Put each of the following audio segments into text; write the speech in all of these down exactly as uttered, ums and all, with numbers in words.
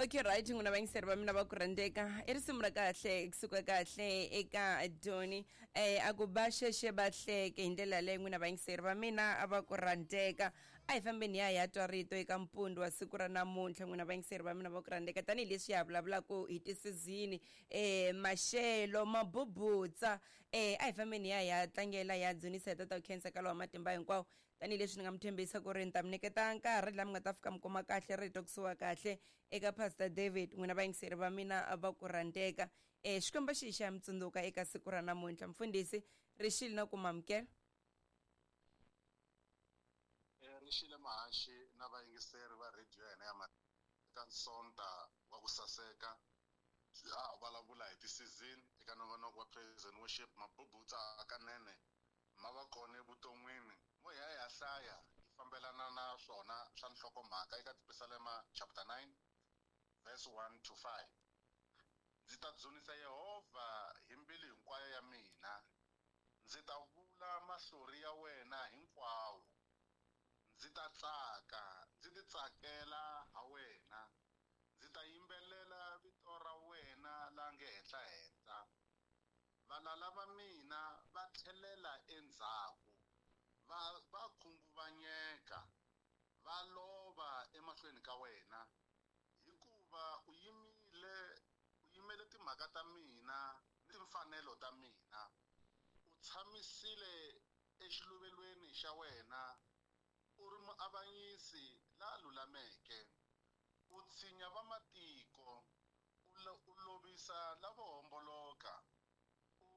Okay, right, n'wina vayingiseri va mina va ku rhandzeka i risimu ra kahle kusuka kahle eka Doni eh a ku ba xexe ba hleke hi ndlela leyi n'wina vayingiseri va mina a va ku rhandzeka. A hi fambeni ya ya twa rito eka mpundu wa siku ra namuntlha n'wina vayingiseri va mina va ku rhandzeka tanihileswi ya vulavulaka hi tisizini eh maxelo mabubutsa eh a hi fambeni ya ya tlangela ya dzunisa hi tata khensa ka lowa matimba hinkwawo tanihileswi ni nga mi tshembisa ku ri ni ta mi nyiketa nkarhi laha mi nga ta fika mi kuma kahle rito kusuka kahle eka Pastor David n'wina vayingiseri va mina va ku rhandzeka. Eh Xikwembu xi xa mi tsundzuka eka siku ra namuntlha. Mfundhisi rixile na ku mamukela. Eh rixile mahaxi na vayingiseri va radio ya hina ya eka Sonta wa ku saseka ha vulavula hi ti-season eka nongonoko wa praise and worship. Mabubutsa hakanene ma va kona evuton'wini mo hi ya hi ya hlaya yi fambelana na swona swa nhlokomhaka eka Tipisalema chapter nine verse one to five. Ndzi ta dzunisa Yehovha hi mbilu hinkwayo ya mina, ndzi ta vula mahlori ya wena hinkwawo, ndzi ta tsaka ndzi ti tsakela ha wena, ndzi ta yimbelela vito ra wena la nge henhla-henhla. Valala va mina va tlhelela endzhaku, va va khunguvanyeka, va lova emahlweni ka wena, hikuva u yimile u yimele timhaka ta mina ni timfanelo ta mina, u tshamisile exiluvelweni xa wena, u ri muavanyisi la lulameke, u tshinya vamatiko, u lovisa lavo homboloka, u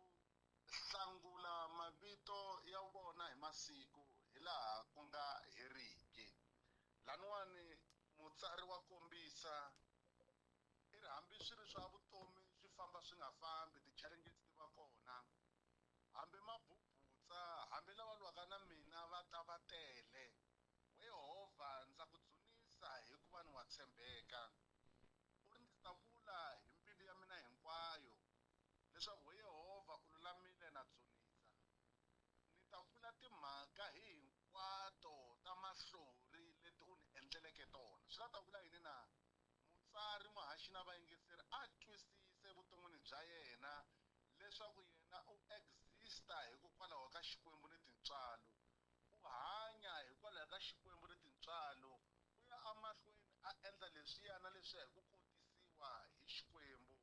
hlangula mavito ya vona hi masiku hilaha ku nga heriki. Laniwani mutsari wa kombisa i ri hambi swi ri swa vutomi swi famba swi nga fambi, ti-challenges ti va kona, hambi mabubutsa hambi lava lwaka na mina va ta va tele, we Yehovha ndza ku dzunisa hikuva ni wa tshembeka. U ri ndzi ta vula hi mbilu ya mina hinkwayo leswaku we Yehovha u lulamile na dzunisa, ni ta vula timhaka hi hinkwato ta mahlori leti u ni endleleke tona. Swi la ta vula yini na? Mutsari muhaxi na vayingiseri a twisise evuton'wini bya yena leswaku yena u exista hikokwalaho ka Xikwembu ni tintswalo, u hanya hikwalaho ka Xikwembu ni tintswalo, u ya emahlweni a endla leswiya na leswiya hi ku kotisiwa hi Xikwembu.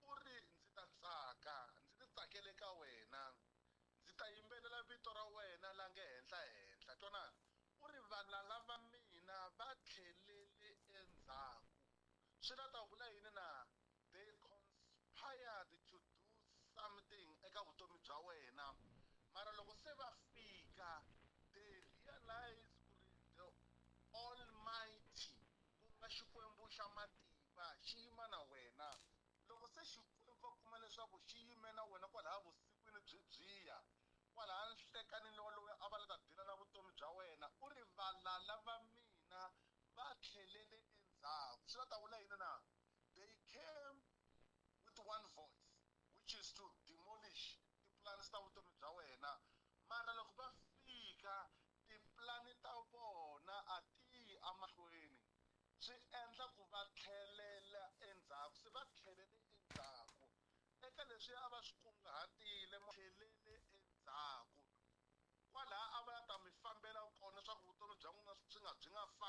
U ri ndzi ta tsaka ndzi ti tsakele ka wena, ndzi ta yimbelela vito ra wena la nge henhla-henhla. Twanana, u ri valala va mina va tlhelele endzhaku. Swi la ta vula yini na? They conspired to do something eka vutomi bya wena, mara loko se va fika they realize ku ri the Almighty ku nga Xikwembu xa matimba xi yima na wena. Loko se Xikwembu va kuma leswaku xi yime na wena kwalaya vusikwini byi byiya, kwalaya nhlekanini lowu a va la ta dila na vutomi bya wena, u ri valala va mina va tlhelele endzhaku. Swi la ta vula yini na? They came with one voice, which is to demolish ti-plans ta vutomi bya wena, mara loko va fika tipulani ta vona a ti yi emahlweni, swi endla ku va tlhelela endzhaku. Se va tlhelele endzhaku eka leswi a va swi kunguhatile, tlhelele endzhaku.